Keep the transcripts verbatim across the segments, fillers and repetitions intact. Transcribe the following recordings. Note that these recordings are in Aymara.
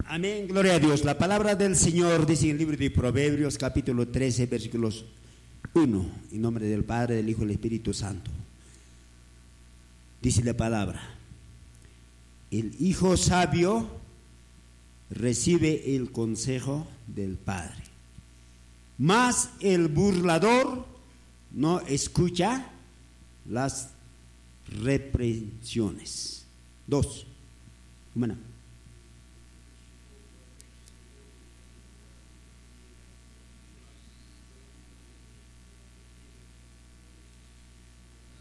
Amén, gloria a Dios. La palabra del Señor dice en el libro de Proverbios, capítulo trece, versículos uno, en nombre del Padre, del Hijo y del Espíritu Santo. Dice la palabra: el hijo sabio recibe el consejo del padre, mas el burlador no escucha las reprensiones. Dos. Humana.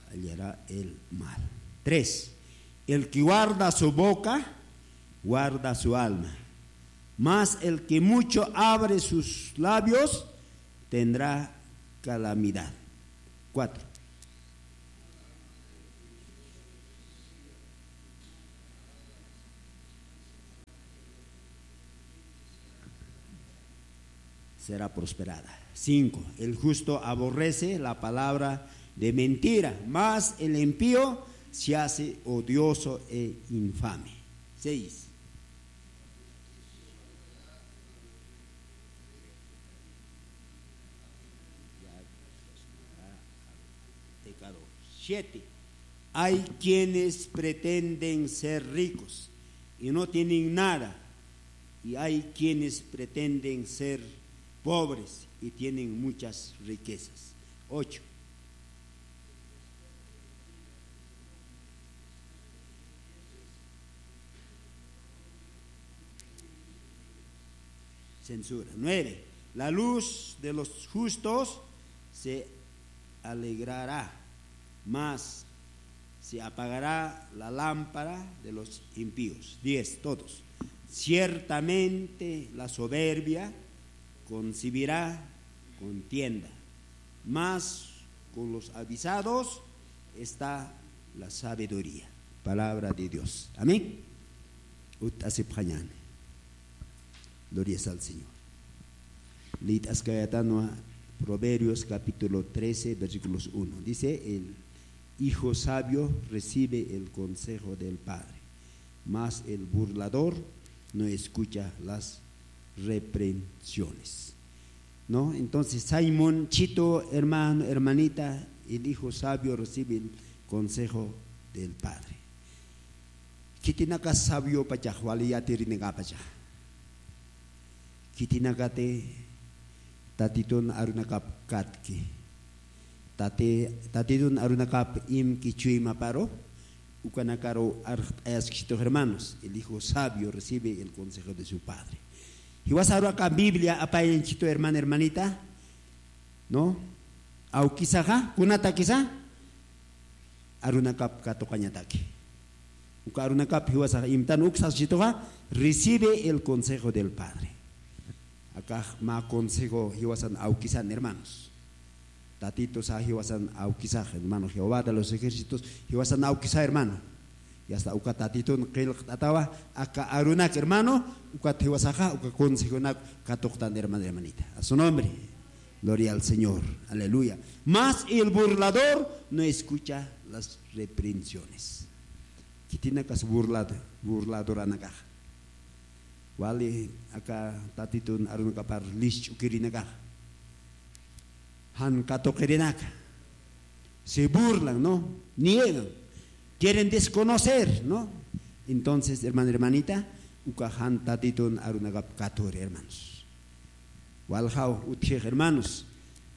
Hallará el mal. Tres. El que guarda su boca, guarda su alma. Mas el que mucho abre sus labios, tendrá calamidad. Cuatro. Será prosperada. Cinco. El justo aborrece la palabra de mentira, mas el impío se hace odioso e infame. Seis. Pecado. Siete. Hay quienes pretenden ser ricos y no tienen nada, y hay quienes pretenden ser pobres y tienen muchas riquezas. Ocho. Censura. Nueve. La luz de los justos se alegrará, mas se apagará la lámpara de los impíos. Diez. Todos. Ciertamente la soberbia concibirá contienda, mas con los avisados está la sabiduría. Palabra de Dios. Amén. Ut'asipxañäni. Glorias al Señor. Liyt'askayatanwa Proverbios capítulo trece, versículos uno. Dice: el hijo sabio recibe el consejo del padre, mas el burlador no escucha las reprensiones. ¿No? Entonces, Simón, Chito, hermano, hermanita, el hijo sabio recibe el consejo del padre. Khitinaka sabio pachax wali yatirininkapacha. Khitinakati tatitun arunakap katki. Tati, tatitun arunakap imki chuymaparu, ukanakaru arxt'ayaskisitux hermanos. El hijo sabio recibe el consejo de su padre. Jiwasaru aka Biblia apayañchitu hermana, hermanita, ¿no? Awkisaxa, kunatakisa, arunakap katuqañataki. Uka arunakap jiwasaxa imtan uk saskisituxa, recibe el consejo del padre. Akax mä consejo jiwasan awkisan, hermanos. Tatitusa jiwasan awkisax, hermano, Jehová de los ejércitos jiwasan awkisa, hermano. Y hasta uka tatitun qillqt'atawa aka arunak, hermano, ukat jiwasaxa uka consejonak katuqtan, hermano, hermanita. A su nombre. Gloria al Señor. Aleluya. Mas el burlador no escucha las reprensiones. Khitinakas burlado, burladoranakax. Wali aka tatitun arunakapar lisch'ukirinakax. Jan katuqirinaka. Se burlan, ¿no? Niegan. Quieren desconocer, ¿no? Entonces, hermano, hermanita, uka jan tatitun arunakap katuri, hermanos. Waljaw utjix, hermanos.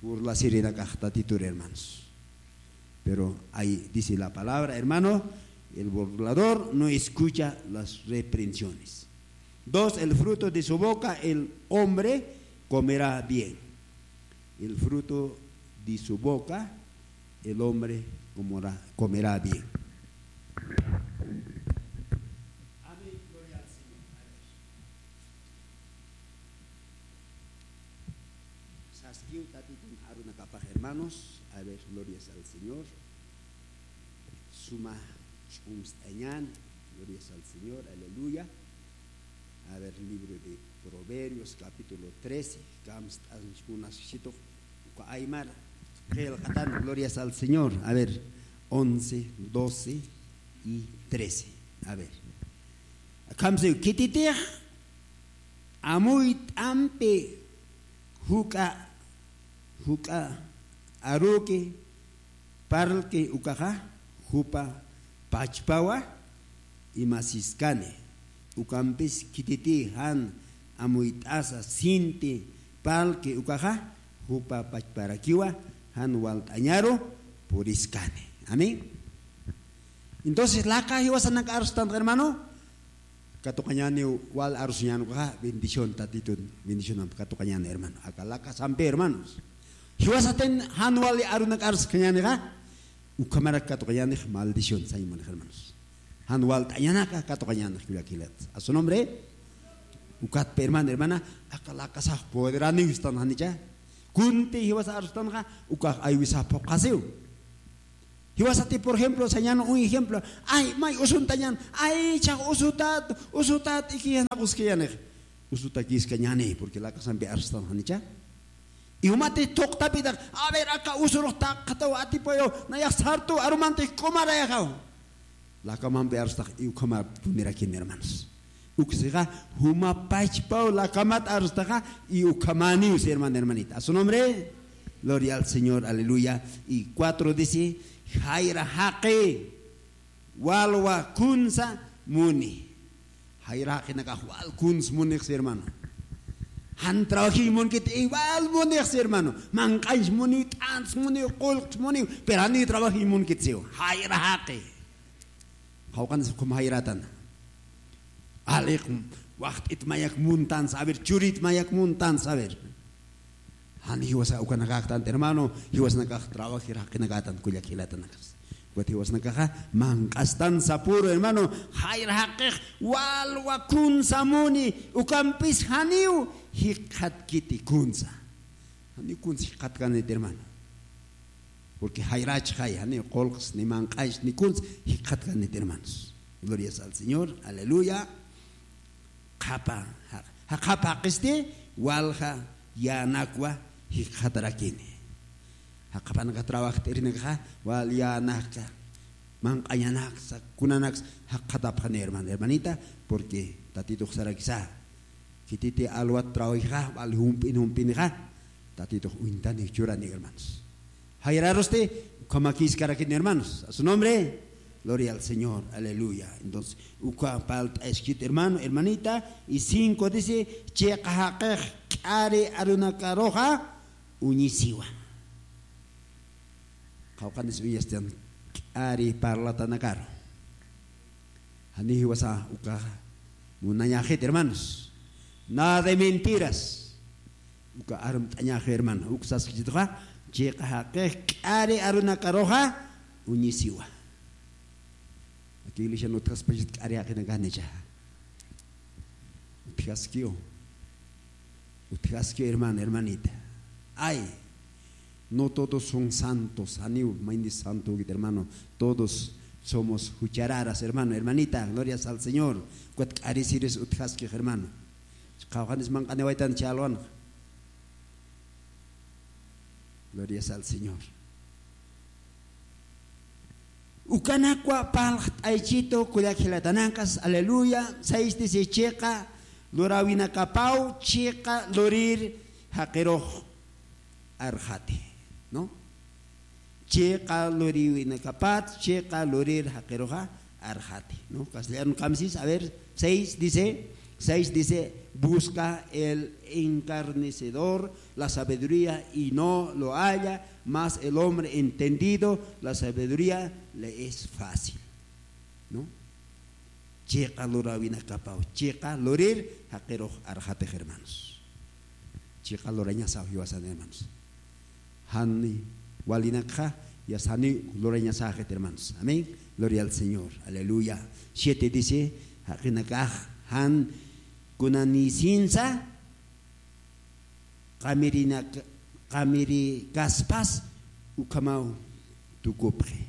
Burlasirinakax tatituri, hermanos. Pero ahí dice la palabra, hermano, el burlador no escucha las reprensiones. Dos, el fruto de su boca el hombre comerá bien. El fruto de su boca el hombre comerá, comerá bien. Amén, gloria al Señor. Saskiw tatitun arunakapax, hermanos. A ver, glorias al Señor. Suma ch'umst'añan. Glorias al Señor. Aleluya. A ver, libro de Proverbios, capítulo trece. Kamst'anchkunaskisitux. Uka aymar qillqatan. Glorias al Señor. A ver, once, doce y trece. A ver. Kamsi, khititix amuyt'ampi juk'a, juk'a aruki parlki ukaxa, jupa pachpawa imasiskani. Ukampis khititï jan amuyt'asa sinti parlki ukaxa, jupa pachparakiwa jan walt'añaru puriskani. Amén. Entonces, laka jiwasanak arstan, hermano, katuqañäniw wal arusuñän ukaxa, bendición Tatitun, bendicionamp katuqañäni, hermano. Aka laka sampi, hermanos. Jiwasatin jan wali arunak arskañänixa, ukhamarak katuqañänix maldición sañ munix, hermanos. Jan walt'añanaka katuqañänix, kullaka jilat. A su nombre, ukatpi, hermano, hermana, aka lakasax poderaniw istan janicha. Kunti jiwasa arstanxa, ukax aywisax phuqhasiw. Jiwasati, por ejemplo, sañan un ejemplo. Ay, may usuntañan. Ay, chax usutat, usutat, ikiyanaq uskayanix. Usutakiskañani, porque lakasampi arstan janicha. Y jumati thuqtapitaq, a ver, aka usurux taqataw atipayaw, nayax sartu arumantix k'umarayaxaw. Lakamampi arstax, y ukhamar punirakini, hermanos. Uksixa, juma pachpaw lakamat arstaxa, y ukhamaniw, si hermano, hermanita. A su nombre, gloria al Señor, aleluya. Y cuatro dice, jayra jaqi, walwa kunsa muni. Jayra jaqinakax wal kuns munix, si hermano. Jan trabajiñ munkit, igual munix, si hermano. Manq'añs muniw, t'ants muniw, qullqs muniw, pero janiw trabajiñ munkit, siw. Jayra jaqi. Qawqanis ukham jayratan. Aliq, waxt'it mayak muntan saber, churit mayak muntan saber. Jan jiwasa ukanakaktan, hermano, jiwasnakax trabajir jaqinakatan, kullak jilatanakas. Ukat jiwasnakaxa manq'astan sapuru, hermano, jayra jaqix walwa kunsa muni, ukampis janiw jikxatkiti kunsa. Janiw kunsa jikxatkanit, hermano. Porque jayrachxay, janiw qullqs, ni manq'añs, ni kuns, jikxatkanit, hermanos. Glorias al Señor, aleluya. Qhapa, ja-, jaqhapa jaqisti, walja yänakwa jikxatarakini. Jaqhapanaka trabajt'irinakxa, wal yänakxa, manq'añanaksa, kunanaksa, jaqhatapxani, hermano, hermanita, porque Tatitux sarakisa. Khititi alwat trabajixa, wal jump'in, jump'inixa, Tatitux uñtani, churani, hermanos. Jayrarusti, ukhamakïskarakini, hermanos. A su nombre, gloria al Señor, aleluya. Entonces, uka palt'askit, hermano, hermanita, y cinco dice, chiqa jaqix k'ari arunakaruxa uñisiwa. Qawqanis uñastan k'ari parlatanakaru. Jani jiwasa uka munañaxit, hermanos. Nada de mentiras. Uka armt'añaxi, hermano. Uk saskchituxa, chiqa jaqix k'ari arunakaruxa uñisiwa. Aki iglesian utjaspachit k'ari jaqinakanicha. Utjaskiw. Utjaski, hermano, hermanita. Ay, no todos son santos. Janiw mayni santo ukit, hermano. Todos somos juchararas, hermano, hermanita. Glorias al Señor. Ukat k'arisiris utjaski, hermano. Qawqanis manq'aniwaytan chalwan. Glorias al Señor. Ukanakwa parlt'aychitu, kullak jilatanakas, aleluya. Seis dice, chiqa luräwinakapaw, chiqa lurir jaqirux arxati, ¿no? Chiqa luriwinakapat, chiqa lurir jaqiruxa arxati, ¿no? Castellano kamsis, a ver, seis dice, seis dice, busca el encarnecedor la sabiduría y no lo halla, mas el hombre entendido la sabiduría le es fácil, ¿no? Chiqa luräwinakapaw, chiqa lurir jaqirux arxatix, hermanos. Chiqa lurañasaw jiwasan, hermanos. Jan walinakxa, yasta jani lurañasaxit, hermanos. Amén. Gloria al Señor. Aleluya. Siete dice, jaqinakax jan kunanïsinsa, qamirinak-, qamirikaspas ukhamaw tukupxi.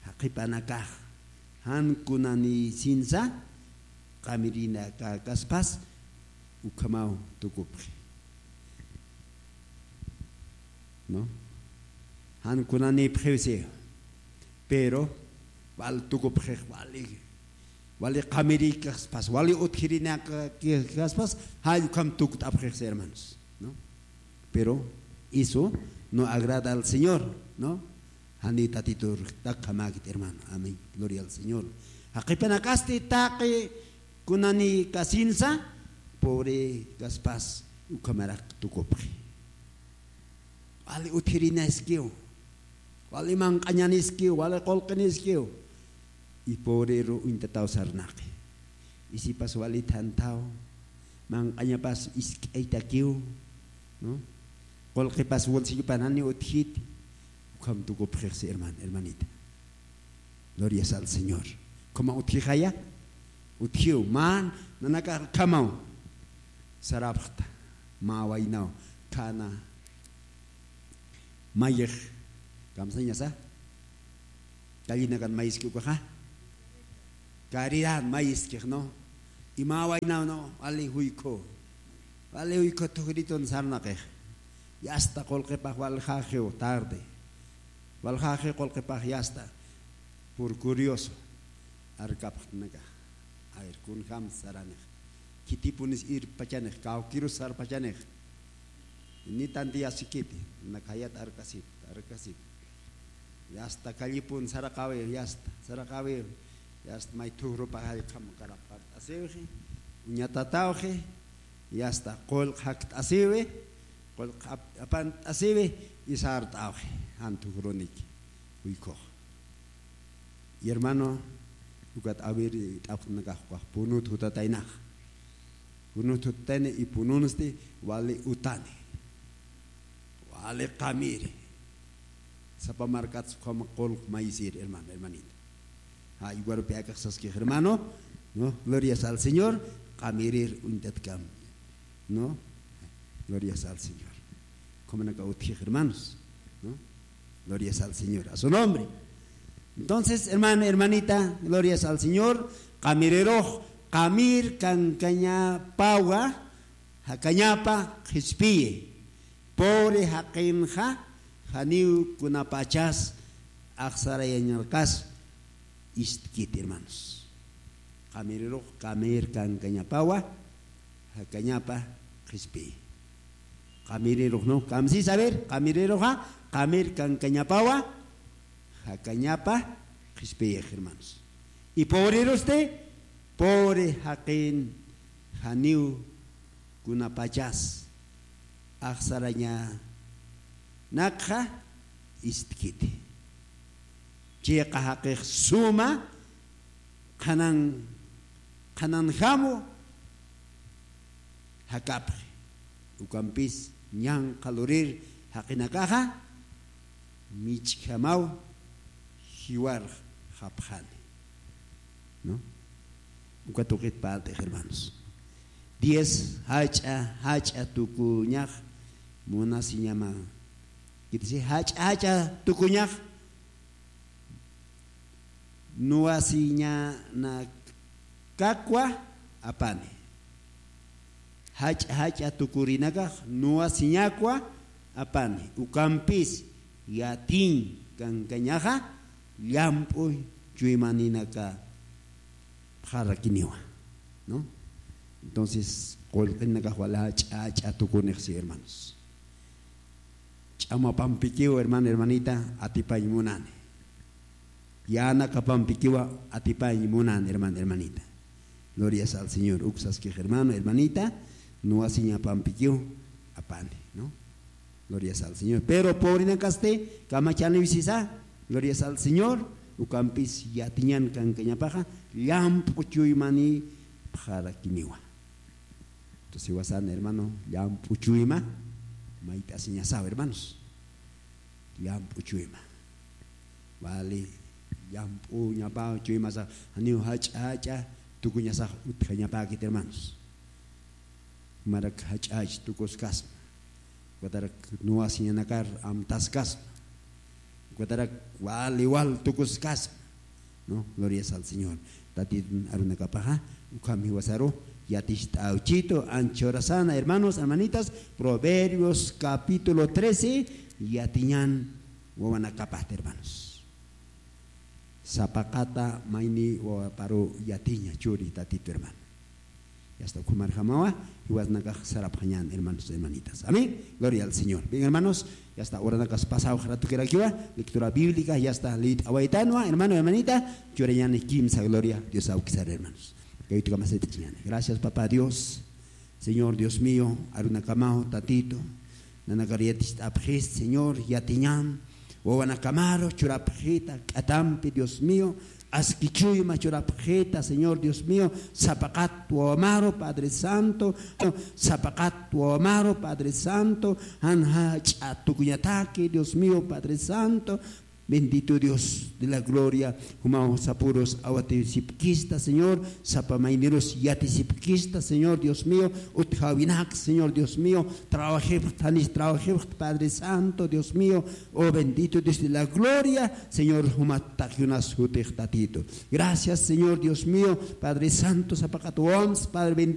Jaqhipanakax jan kunanïsinsa, qamirinakaspas ukhamaw tukupxi. ¿No? Jan kunanïpxiw si. Pero, wal tukupxix, wali. Wali qamirikaspas, wali utjirinakaspas, jall ukham tukt'apxixsi, hermanos, ¿no? Pero eso no agrada al Señor, ¿no? Jani Tatitur takjamäkit, hermano. Amén. Gloria al Señor. Jaqipanakasti taqi kunani kasinsa, pobre kaspas, ukhamarak tukupxi. Wali utjirinaskiw, wali manq'añaniskiw, wali qullqiniskiw. Y pobrero uñtataw sarnaqi. Y sipas wali thanthaw, manq'añapas isk'aytakiw, ¿no? Qullqipas bolsillopan jani utjiti, ukham tukupxixsi, hermano, hermanita. Glorias al Señor. ¿Cómo utjixaya? Utjiw, man, nanakax ukhamaw sarapxta. Mä waynaw, khana, mayix, kamsañasa, callinakan mayiski ukaxa, caridad mayiskix, ¿no? Y mä waynaw, ¿no? Wali juykhu, wali juykhu thujritun sarnaqix. Y hasta qullqipax waljaxiw tarde. Waljaxi qullqipax, y hasta por curioso arkapxtnakax. A ver, kunjam saranix. Khitipunis irpachanix, kawkirus sarpachanix. Ni tantiyasikiti, nakhayat arkasip, arkasip. Y hasta callipun saraqawi, y hasta, saraqawi, y hasta may thujrupax jallkham karapxart'asiwxi, uñatatawxi, y hasta qullq jakt'asiwi, qullq ap-, apant'asiwi, y sart'awxi, jan thujruniki, juykhux. Y hermano, ukat awir t'apxtnakax ukax punut jutataynax. Punut jutatayna y pununsti wali utani. Wali qamiri. Sapa markats ukham qullq mayisir, hermano, hermanita. Ja, igual p'akax saskix, hermano, ¿no? Glorias al Señor, qamirir uñtatkam, ¿no? Glorias al Señor. Ukhamanaka utjix, hermanos, ¿no? Glorias al Señor, a su nombre. Entonces, hermano, hermanita, glorias al Señor, qamirirux, qamir kankañapawa, jakañapa qhispiyi. Pobre jaqinxa, janiw kunapachas axsarayañarqas istkiti, hermanos. Qamirirux, qamir kankañapawa, jakañapa qhispiyi. Qamirirux, ¿no? Kamsis, a ver, qamiriruxa, qamir kankañapawa, jakañapa qhispiyix, hermanos. Y pobrerusti, pobre jaqin, janiw kunapachas axsarañanakxa istkiti. Chiqa jaqix suma qhanan, qhananjamu jakapxi. Ukampis ñanqha lurir jaqinakaxa mich'jamaw jiwarxapxani, ¿no? Uka tuqit parlt'ix, hermanos. Diez jach'a, jach'a tukuñax munasiñama. Kitisi jach'a, jach'a tukuñax nuwasiñanakakwa apani. Jach'a, jach'a tukurinakax nuwasiñakwa apani. Ukampis yatiñ kankañaxa llamp'u chuymaninaka pxarakiniwa, ¿no? Entonces, qullqinakax wali jach'a, jach'a tukunixsi, hermanos. Ch'amapampikiw, hermano, hermanita, atipañ munani. Yanakapampikiwa atipañ munani, hermano, hermanita. Glorias al Señor. Uksaskix, hermano, hermanita, nuwasiñapampikiw apani, ¿no? Glorias al Señor. Pero pobrenakasti kamachaniw sisa, glorias al Señor, ukampis yatiñan kankañapaxa, llamp'u chuymani pxarakiniwa. Entonces, iwasan, hermano, llamp'u chuyma, mayt'asiñasaw, hermanos. Llamp'u chuyma. Wali, llamp'u ñapaw chuymasax, janiw jach'a, jach'a tukuñasax utjañapäkit, hermanos. Marak jach'a, jach'a tukuskasma. Ukatarak nuwasiñanakar amtaskasma. Ukatarak wali wal tukuskasma, ¿no? Glorias al Señor. Tatitun arunakapaxa, ukham jiwasaru, yaticht'awchitu, anchhurasana, hermanos, hermanitas, Proverbios capítulo trece, yatiñan wawanakapati, hermanos. Sapaqata mayni wawaparu yatiña churi tatitu hermano. Yasta ukhumarjamawa, jiwasnakax sarapxañan hermanos, hermanitas. Amén. Gloria al Señor. Bien hermanos, yasta uranakas pasaw jaratukirakiwa, lectura bíblica yasta lit'awaytanwa hermano, hermanita. Churañani kimsa gloria Dios awkisar hermanos. Kayutukamasit'ichiñani. Gracias papá Dios. Señor Dios mío, arunakamaw tatitu, nanakar yatist'apxist Señor, yatiñan wawanakamaru churapxita k'atampi Dios mío, askichuyma churapxita Señor Dios mío, sapaqat wawamaru Padre Santo, sapaqat wawamaru Padre Santo, janjach'a tukuñataki Dios mío Padre Santo. Bendito Dios de la gloria, jumaw sapurus awatisipkista Señor, sapa maynirus yatisipkista Señor Dios mío, utjawinak Señor Dios mío, trabajipxt janis trabajipxt Padre Santo Dios mío. Oh bendito Dios de la gloria, Señor, jumat takyunas jutix tatitu. Gracias Señor Dios mío, Padre Santo sapaqat wawams Padre bendito.